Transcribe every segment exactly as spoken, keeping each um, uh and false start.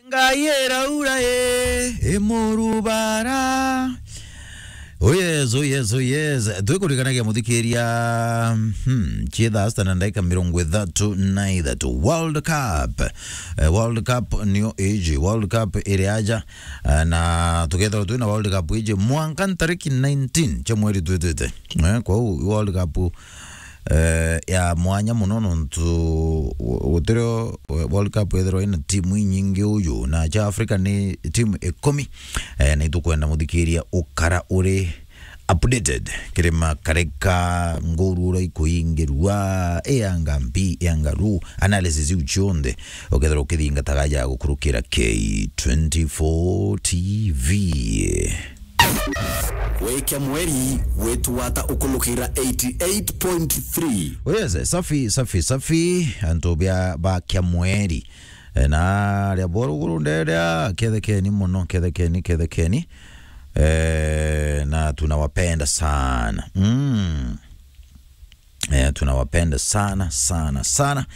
Ngai iraura i, imurubara. Oh yes, oh yes, oh yes. Twikurikanagia muthikiria, hmm, chitha asta na ndagika mirongo ithatu na ithatu. World Cup. Eh, World Cup niyo iji. World Cup iri aja. Eh, na tukethirwa twina World Cup iji mwanka ntariki nineteen cia mweri twitite. Eh, kwou World Cup eh, ya mwanya muno nontu gu-, gutirio World Cup ethirwa ina timu inyingi uju, na cha Africa ni timu ikumi. Eh, na itukwenda muthikiria ukara uri updated kiri makareka, nguru uria ikuingirua, ianga mbi, ianga ru, analysis iu cionthe ukethirwa ukithingataga ja gukurukira K twenty-four T V. Wikia mweri, witu wata ukulukira eighty-eight point three. Oh yes, safi, safi, safi, antu bia ba kia mweri. Eh, na ria boruguru nderia, kethekeni muno, kethekeni, kethekeni. Eh, na tunawapenda sana. Mm. Eh, tunawapenda sana, sana, sana.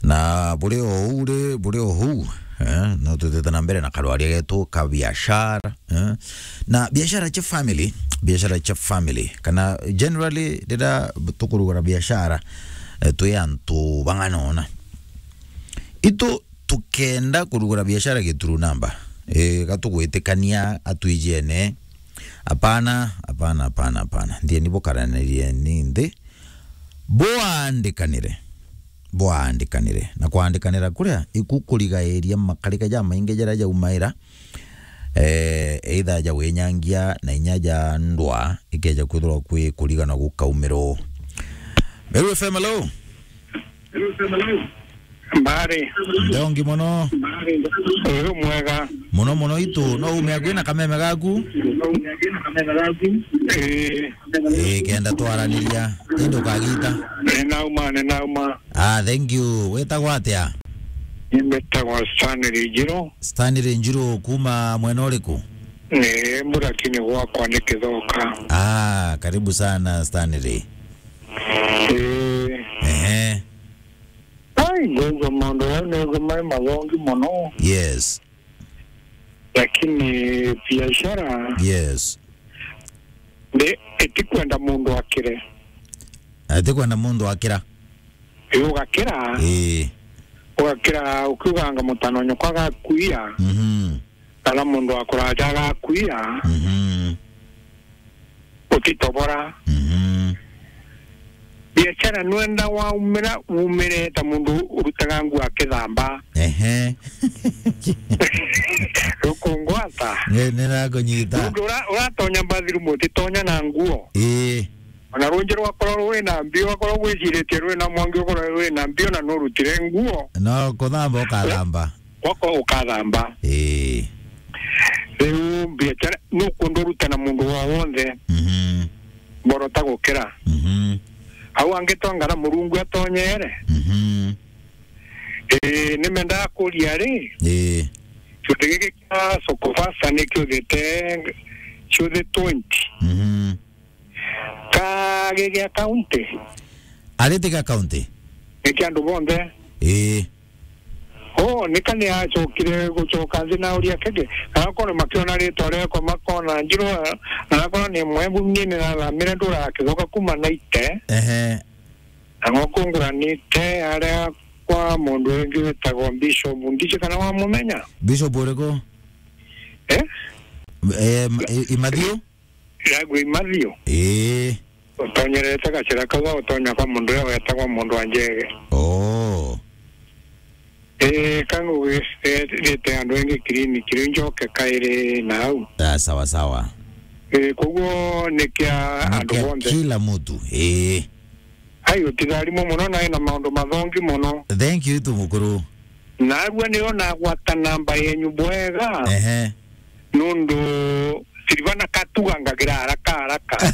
Na buri o uu ri, buri o uu, eh, no tutete na mbere na karwaria getu ka biashara, eh. Na biashara cia family, biashara cia family, kana generally riria tukurugura biashara, eh, twi antu bang'ana ona. Itu tukenda kurugura biashara gituru namba, eh, gatugwitikania atwijene, Apana, apana, apana, apana. Ndieni bukaranirie ni nthi. Bwaandikanire. Bwaandikanire. Na kwaandikanira kuria, iku kurigairia makarika jamaingi jaria jaumaira, eh, either ja winyangia na inya ja ndwa, ikeja kwithirwa kwi kurigana gukaumirwo. Meru F M, hello? Mbari. Ndongi mono. Uyu mwega. Mono mono itu, no ume akwina kameme gaku? Ii. Ii, kenda twaraniria. Indi ukagita. Ninauma, ninauma. Ah, thank you. Witagwa atia? Nimbitagwa Stanley Njiru. Stanley Njiru, kuma mwena uriku? Ni Mburaki ni gwakwa ni Kithoka. Ah, karibu sana Stanley. Ii. Ehe. Ai, ngwigua maundu jau nigua mai mathongi mono. Yes. Lakini biashara, yes, ndi-, itikwenda mundu akire. Itikwenda mundu akira. Ii, ugakira. Ii. Ugakira ukiuganga mutano nyoko agakuia. Mhm. Kana mundu wa kuraja agakuia, mhm, utitobora. Mhm. Biashara nwenda waumira, umire ta mundu urutaga nguo akithamba. Ehe. Rukungwata. Ni-, nirakunyita. Nundu ura-, uratonya bathroom utitonya na nguo. Ii. Ona runji rwakorwo rwina mbio, rwakorwo gwiciritie rwina mwangi, ukorwo rwina mbio na nurutire nguo. No kuthamba ukathamba. Gwakwa ukathamba. Ii. Riu biacara nukwenda uruta na mundu wa wonthe. Mhm. Borota gukira. Mhm. Au angi twangara Murungu atonyere. Mhm. Ii, nimendaga kuria ri. Ii. Kiuthi giki kia Soko Fasta ni kiuthite ciuthi twenty. Mhm. Ka gigi akaunti. Ariti ga kaunti? Ni kia andu bonthe. Ii. Oh, ni ka ni acokire gucoka nthi na uria kege. Na akona makiona ritwa riakwa makona Njiru, na akona ni mwembu mnyini na thamire ndura akicoka kuma naite. Ehe. Na ng'oku nguranite aria kwa mundu wingi witagwa Bishop. Ndiji kana wamumenya? Bishop uriku? Eh? Eh, m-, i-, Imathiu? Iragwi Mathiu. Ii. Utonyerete gacira kau, utonya kwa mundu uria wetagwa mundu wa Njege. Oh. Ii, ka ngugirite andu engi kiriniki, riu njoke kairi nau. Ah, sawa, sawa. Ii, koguo ni kia andu bonthe. Kila mutu. Ii. Ai, utitharimwe muno, na ina maundu mathongi muno. Thank you, tu mukuru. Narua nio nagwata namba yenyu bwega. Ehe. Nundu Silvana katugangagira haraka haraka.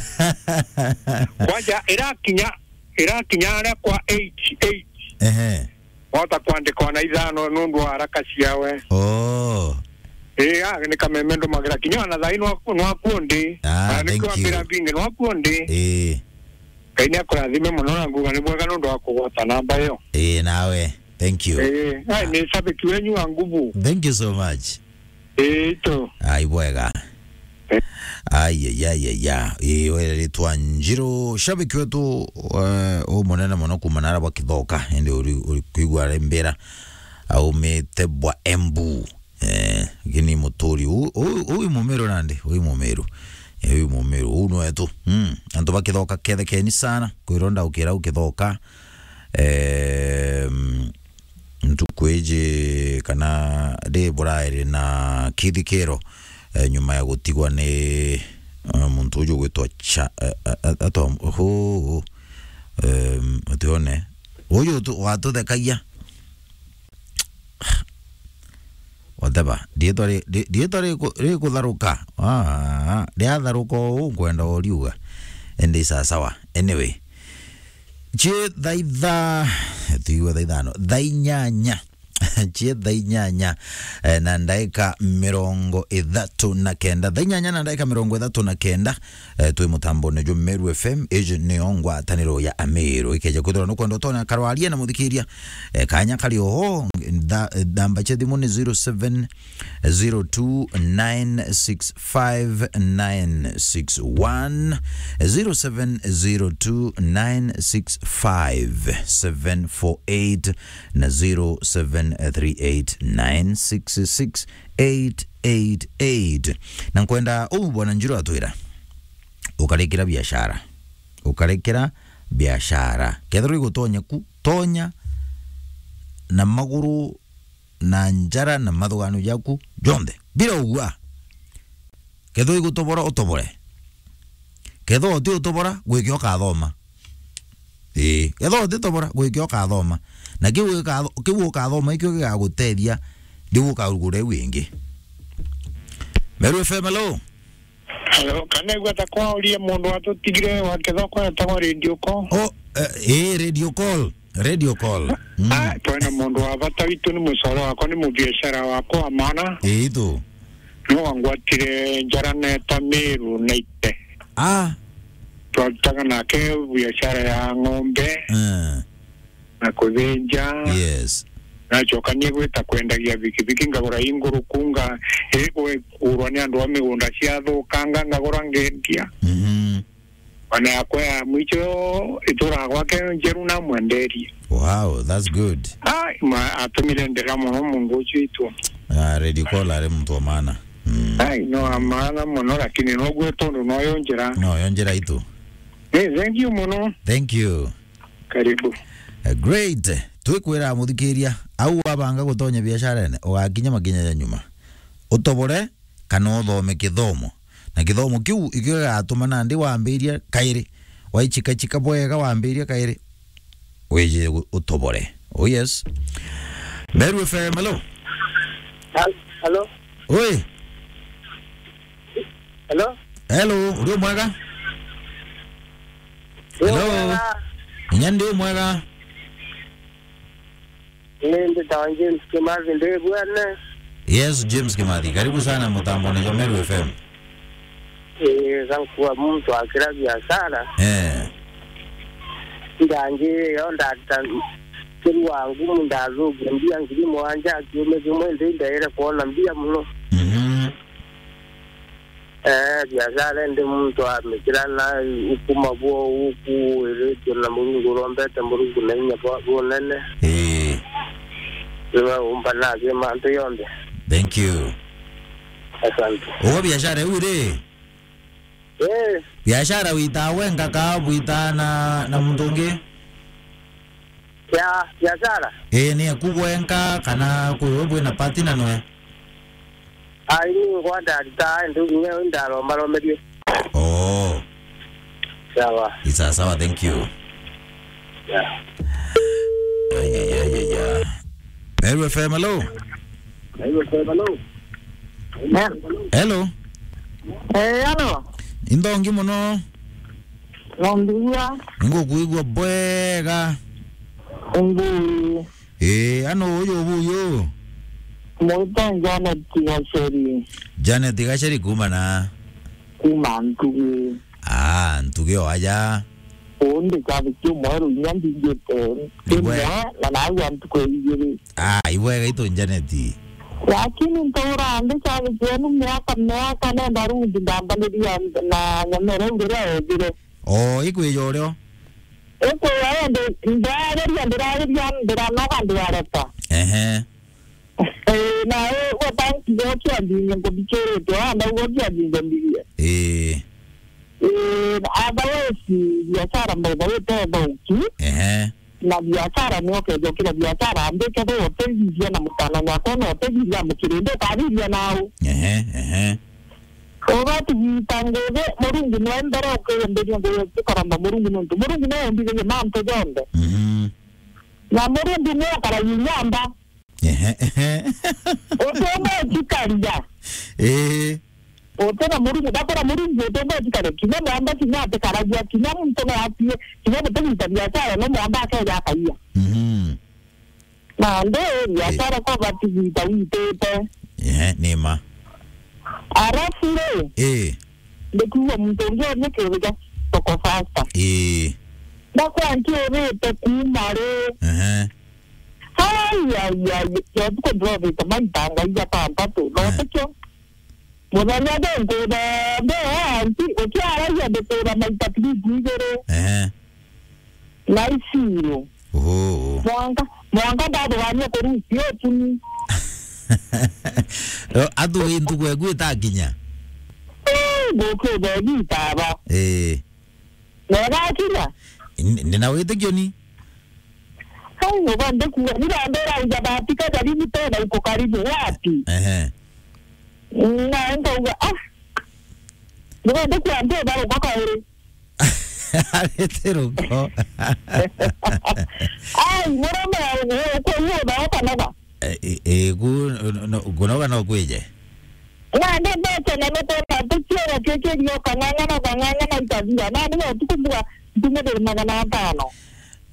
Kwanja irakinya, irakinya aria kwa eight eight. Ehe. Wahota kwandika ona ithano nundu wa haraka ciawe. Oh. Ii, ah, ni kameme ndumagira kinya ona thaa ino nwaku ndi. Ah, na thank you. Nikwambira mbingi nwaku ndi. Ii. Ngai ni akurathime muno na nguga ni bwega nundu wa kugwata namba iyo. Ii, nawe. Thank you. Eh, ai, ni shabiki wenyu wa nguvu. Thank you so much. Eh, ito. Ai, bwega. Eh. Ai, ai, ai, ai, ai. Eh, weritwa Njiru, shabiki wetu, eh, umunene muno kuma nara bwa Kithoka, indi uri, uri kwigua ari mbira, aumite bwa Embu. Eh, gini muturi, u-, u-, uyu Mumiru nandi, uyu Mumiru. Eh, uyu Mumiru, uu ni wetu. Mm, antu ba Kithoka kethekeni sana, kwirwo ndaukira u Kithoka. Em, ntuku iji kana ndi burairi na kithikiro, eh, nyuma ya gutigwa ni, eh, muntu uju gwitwa Cha-, eh, eh, eh, atwa-, huu, em, utione. Uyu tu-, watuthekagia. Whatever. Riitwa ri-, ri-, riitwa riku-, rikutharuka. Ah, riatharuka uu nkwenda uriuga. Indi sawa sawa. Anyway. Cie thaa itha-, tuigue thaa ithano. Thaa inyanya. Cie thaa inyanya, eh, na ndaika mirongo ithatu na kenda. Thaa inyanya na ndaika mirongo ithatu na kenda. Eh, twi mutambone jwa Meru F M, iji niyo ngwataniro ya Ameru. Ikeja kwithirwa nukwenda utonya karwaria na muthikiria, eh, kanya kari oho, ntha-, eh, namba cia thimu ni zero seven zero two nine six five nine six one, zero seven zero two nine six five seven four eight na zero seven three eight nine six six eight eight eight. Na nkwenda uu Bwana Njiro atwira, ukarikira biashara. Ukarikira biashara. Kethirwa igutonya ku, tonya na maguru, na njara, na mathugano jaku jonthe. Bila ugua. Kethirwa igutobora, utobore. Kethirwa uti utobora, gwike ukathoma. Ii, kethirwa uti tobora, gwike ukathoma. Na kiu gikatho-, kiu ukathoma, ikio gigagutethia, riu ukarugura iu ingi. Meru F M, hello? Hello, kana igua ta kwauria mundu watutigire wa Kithoko etagwa Radio Call? Oh, eh, ii, Radio Call. Radio Call. Mm. Ah, twina mundu wa bata witu, ni mucore wakwa, ni mubiashara wakwa wa maana. Ii tu. No wangwatire njara neeta Meru naite. Ah. Twarutaga nake biashara ya ng'ombe. Eh. Na kuthinja. Yes. Nacokanie gwita kwendagia bikibiki, ngagura inguru kunga, iri kugurwa ni andu a migunda ciathukanga, ngagura ngendia. Mhm. Ona yakwa ya mwicho ituraga gwake njeru namwenderie. Wow, that's good. Ai, ma, atumire ndira muno mundu ucio itu. Ah, Radio Call ari muntu wa maana. Mm. Ai, no wa maana muno, lakini noguo tondu noyo njira. Noyo njira itu. Eh, thank you muno. Thank you. Karibu. Eh, great. Twikwira muthikiria, au wabanga gutonya biasharene, ugakinya makinya ja nyuma. Utobore kana uthome kithomo. Na kithomo kiu ikio gigatuma nandi wambiria kairi. Waichikachika bwega wambiria kairi. Wije gu-, utobore. Oh yes. Meru F M, hello. Hal-, hello. Oi. Hello. Hello, uri mwega? Hello. Mwega. Inya ndi mwega. Ni mbitawa James Kimathi, ndi Bwene. Yes, James Kimathi, karibu sana mutambone jwa Meru F M. Eh, thank you, muntu akira biashara. Eh. Ndangi yo ndata kiri wangu, muntu athukia mbia ngiri mwanja, kiumia kimwe ndi ndaire kwona mbia muno. Mhm. Eh, biashara indi muntu amikira na ukuma bwo uku iritio na Murungu, urombete Murungu na inya bwa bunene. Ii. Niwe umba na athi mantu yonthe. Thank you. Asante. Ugo biashara iu ri? Eh. Biashara wita wenka ka bwita na, na muntu ungi? Ya biashara? Ii, ni aku gwenka kana kwi we bwina partner noe? Ai, ni ngwa ndarita, ndu nyewe ndarombaromerie. Oh. Sawa. Ni sawa sawa, thank you. Yeah. Ay, ay, ay, ay, ay. Meru F M, hello? Hello? Hello? Eh, hello. Indongi muno. Nongiria. Ngukwigua bwega. Ngui. Eh, ano uyu buyu? Mwita Janet Gaceri. Janet Gaceri kuma na? Kuma Ntugi. Ah, Ntugi o aja. undi cathi kiu mweru inya nthingite. Ibwe- kimwe, na naigua ntuku igiri. Ah, ibwega itu Janet. Lakini ntura ndi cathi kienu miaka, miaka, nenda rundi ndambaniria na nyamere uria ethire. O, ikwija urio? Ikwija indi ndageria, ndirageria, ndiranoga, ndirareka. Ehe. Eh, na we, we banki gokia ndinye ngubikirite, wa ndau gokia ndinye mbirie. Eh. Eh, otherwise, biashara mbaitha witethauki. Ehe. Na biashara ni ukethokira biashara, ambike bo utegiria na mutana nyakwa na utegiria mukirinde ukabiria nau. Ehe, ehe. Ugatigita ngugi, Murungu niwe mbere ukiyambiria ngugi cikoromba Murungu nontu Murungu niwe umbithirie mantu jonthe. Mhm. Na Murungu niwe ukaragia nyomba. Ehe, ehe. Utumba ukikaria. Ii. Uti na Murungu, ndakora Murungu utumba ukikaria. Kinya mwamba kinya atikaragia, kinya muntu no atie, kinya gutigita biashara no mwamba akeja akaia. Mhm. Na ndi biashara kwa batigita witite. Ehe, ni ma. Arafu ri, ii, ndikuigua muntu ungi oria kiuria thoko fasta. Ii. Ndakwa nkiurite kuuma ri. Ehe. Ai, ai, ai, yo tuko ndrovite maita ngai jatanthatu. No, eh, tikio. Muthenya ndi nkuthombe, anti, ukiaragia ndikuura maita trip igiri. Ehe. Na isiro. Oho. Mwanka, mwanka ndathugania kurusi utuni. Athugi ntuku eku itakinya. Ii, ngukiuthombe itaba. Ii. Na igakinya? N-, ndina witikio ni. Hai, uga ndikuga, bila ndera uja batika karibu tena, uko karibu wapi? Ehe. Na nkauga, ah. Uga ndikuga, ndio baro kwa kairi. Arete ruko. Ai, murome, uko hiyo na hata naba. Eh, eh, eh, ku-, no, no, kunoga no kwije. Na ndi mbeca na nukona tukiona kiki ndio kang'ang'ana, kang'ang'ana itathira. Na ni utuku mbuga ntume ndiri magana atano.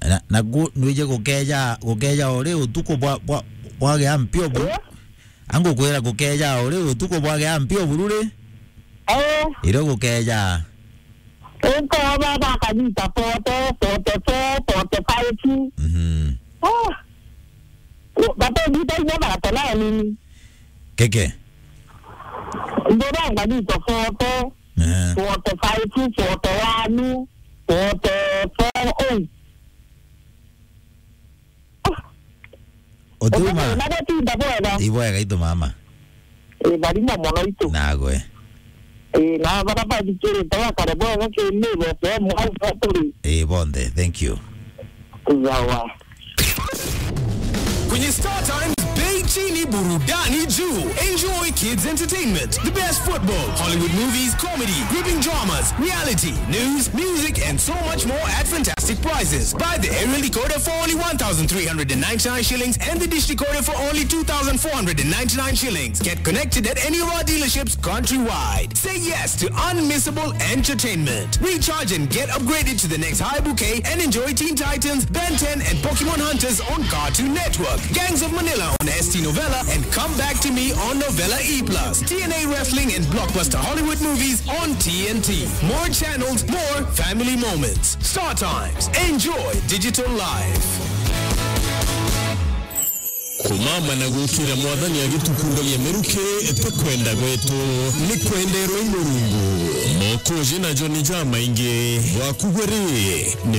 Na, na ku-, nwije gukeja, gukeja ori utuku bwa, bwa, bwagia mpio buru. Eh? Angukwira gukeja ori utuku bwagia mpio buru ri? Eh. Irio gukeja. Uko baba akanyita forty, forty-four, forty-five. Mhm. Ah. Baba ndita inya magana nini? Keke. Ndoranga nita forty, eh, forty-five, forty-one, forty-four, oh. Utuma. Utuma na gutinda bwega. Ibwega itu mama. Ii, barimo mono itu. Nagwe. Ii, na bara bathikirite bakare bwega ki Meru F M au turi. Ii, bonthe, thank you. Sawa. Kwenye Star Times, bei chini, burudani juu. Enjoy kids entertainment, the best football, Hollywood movies, comedy, gripping dramas, reality, news, music, and so much more at fantastic prices. Buy the aerial decoder for only one thousand three hundred and ninety-nine shillings and the dish decoder for only two thousand four hundred and ninety-nine shillings. Get connected at any of our dealerships countrywide. Say yes to unmissable entertainment. Recharge and get upgraded to the next high bouquet and enjoy Teen Titans, Ben ten, and Pokemon Hunters on Cartoon Network, Gangs of Manila on S T Novella, and Come Back to Me on Novella E plus, T N A Wrestling and blockbuster Hollywood movies on T N T. More channels, more family moments. Star Times. Enjoy digital life. Kumama na gukira Mwathani agitukundagia miruki, ti kwenda gwetu, ni kwenderwa i Murungu. Mokoji na Joni jamaingi, bwakugwe ri, ni